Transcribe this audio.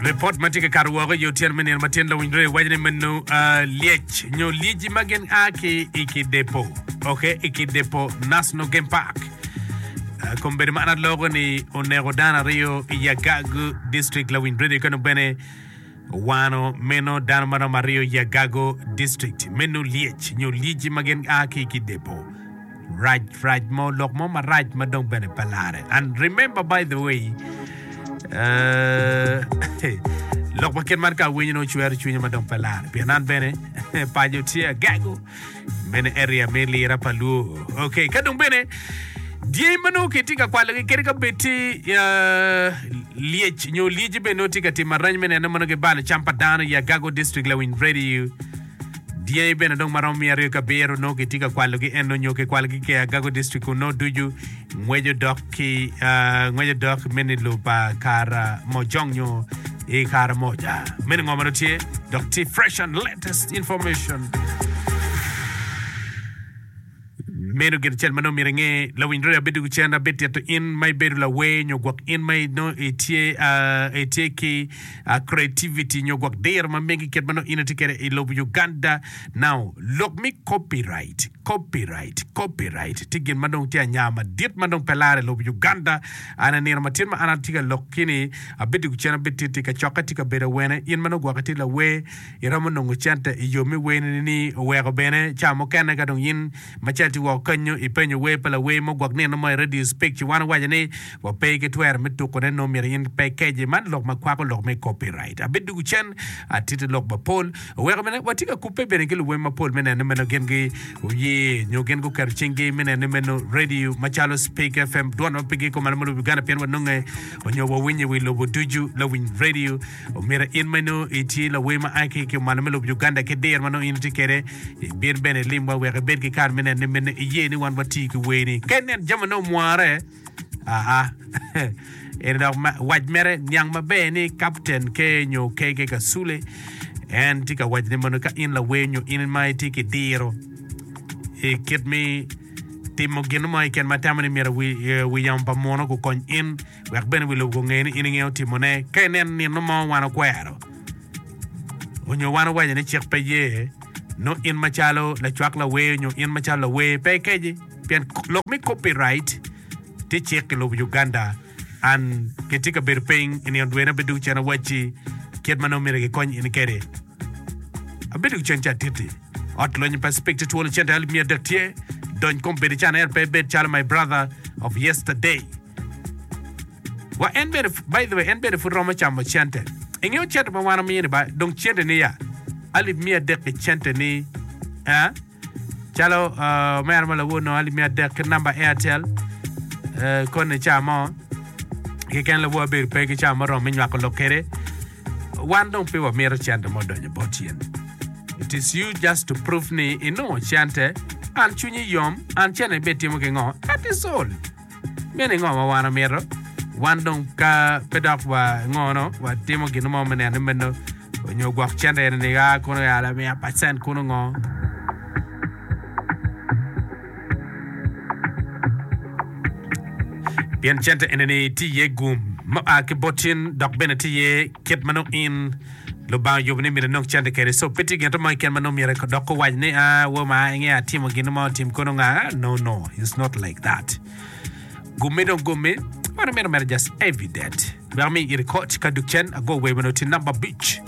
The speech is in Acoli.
Ripot ma tye ka kato woko i otyeno me nino ma tyen lawiny redi waco ni meno lyec nyo lyeci ma gin a ki i Kidepo, ok, i Kidepo National Game Park. Kombeddi ma an aloko ni oneko dano aryo i Yagagu District lawiny redi ka dong bene Owano meno dano ma romo aryo i Agago District. Meno lyec nyo lyeci ma gin a ki ki depo. Rac rac mo lok mo marac ma dong bene pe lare. And remember by the way, uh, lok ma kit man ka awinyo nongo cwero cwinya ma dong pe lare. Pien an bene paco tye Agago. Meno area me lira pa luo. Ok, ka dong bene dyangi ma nongo kitye ka kwalogi kadi ka bed tye uh, lyec nyo lyeci bene nongo tye ka timo arany me neno ma nongo gibalo cam pa dano i Agago District Lawiny Radio. Dyangi bene dong maromo 207 nongo kitye ka kwalogi eno nyo kikwalogi ki Agago District kun nongo ducu Ngwec odok ki ngwec odok meno i lobo pa Karamojong nyo i Karamoja. Meno ngo ma dong tye? Dok tye fresh and latest information. Meno gin acel ma nongo myero inge. Lawiny radio abidugu cen abitito in ma ibedo lawer nyo gwok in ma nongo itye itye ki creativity nyo gwok diro ma megi kit ma nongo in itye kwede i lobo Uganda. Now lok me copyright Copyright, copyright tye gin ma dong tye anya madit ma dong pe lare i lobo Uganda. An i nino ma tye ma an atye ka lok ki ni abidwogo cen abititi kacokke tye ka bedo awene in ma nongo gwoki tye lawer iromo nongo cente i yo me werni ni oweko bene ca mukene ka dong in macalo tye woko kenyo ipenyo wer pa lawer mo gwok nino mo i radio speak ci wan owaco ni wa pe ki twero me tuko ne nongo myero in pe ikeji man lok ma kwako lok me copyright. Abidwogo cen atiti lok mapol. Oweko bene watye ka kubbe bene ki luwem mapol me neno ni meno gin guye nyo gin guketo cinggi me neno ni meno radio macalo Spik FM dwon ma pigi kumalo me lobo Uganda pien wanonge onyo wawinye i wi lobo ducu lawiny radio omyero in ma nongo itye lawer ma a ki kumalo me lobo Uganda ki diro ma nongo in itye kwede ibin bene ilimwa wek ibed ki kare me neno ni meno iye ni wan wati ki werni ka inen jami nongo omware Aa, eni dok wac mere niang maber ni Kapten ke nyo KK Kasule en tye ka waco ni mono ka in lawer nyo in ma itye ki diro i kit me timo gin mo keken ma tamo ni myero wi yamo pa muno gukony in wek bene wi lobo gunge ni in ingeyo timone ka inen nino mo wan okwero onyo wan owaco ni cik pe ye nongo in macalo lacwak lawer nyo in macalo lawer pe ikeji. Pien lok me copyright tye cik i lobo Uganda and gitye ka bedo piny i nino dwene abedo cen awacci kit ma nongo myero gikony in kede. Abedo cen ca atitti ot lonyo pa Speke tye twolo cente alip miya adek tye dony kom bedo can ento pe ibed calo my brother of yesterday. Wa en bene by the way en bene pud romo camo cente. Ingeyo cente ma wan omiyo ni ba dong cente ni ya alip miya adek ki cente ni eh. Calo omera ma lawor nongo alip miya adek ki namba Airtel koni ca mo keken lawor abedo pe ki ca muromo me nywako lok kede. Wan dong pe wamito cente mo donyo bot in. It is you just to prove ni inongo cente an cwinyi yom an cente ni be timo ki ngo that is all. Meno ngo ma wan wamito? Wan dong ka pe dok wa ngono, watimo gin mo me neno ni meno onyo gwok cente eni ni a kono ya lamiya pacent kuno ngo. Pien cente eni ni tye iye gum ma oa ki bot in dok bene tye iye kit ma nongo in Lubanga oyubo ni myero inong cente kwede. So pe tye gin mo keken ma nongo myero dok owac ni ah wo ma inge atimo gin mo otim kono nga. No no, it's not like that. Gummi dong gummi, wan wamito mere just evident. Wek ami iri koc ka duk cen ago wer meno tye namba abic.